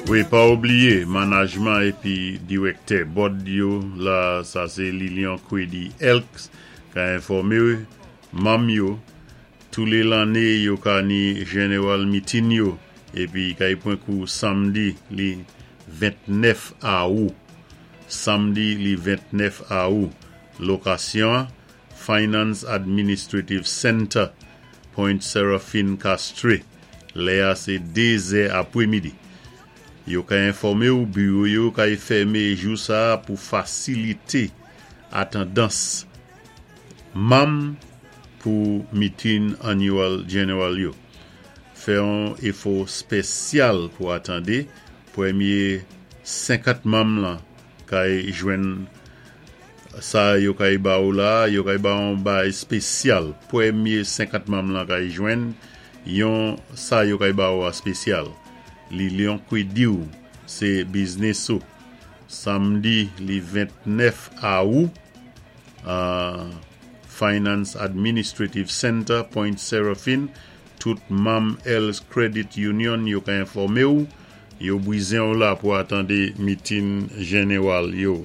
Wi, pa oubliyé manajman épi diwèktè board yo la, sa sé Lilian Kwedi Elks, ka enfòmé manm yo toulé lanné yo ka ni general meeting yo épi kay pwan kou samdi li 29 awou. Samdi li 29 awou. Lokasyon Finance Administrative Center, Point Seraphine, Castries. Lè a sé 2 zè apwémidi. Yo ka enfòmé ou biwo yo kay fèmé jou sa pou fasilité atandans manm pou meeting annual general yo. Fè yon éfò spésyal pou atandé, pwémyé 50 manm lan kay jwenn sa yo kay ba ou la, yo kay ba ou yon bagay spésyal. Pwémyé 50 manm lan kay jwenn yon sa yo kay ba ou a spésyal. Lilian Kwedi ou sé biznis ou. Samdi li 29 awou, Finance Administrative Center, Point Seraphine, tout manm Els Credit Union yo ka enfòmé ou, yo bwizen ou la pou atandé meeting general yo.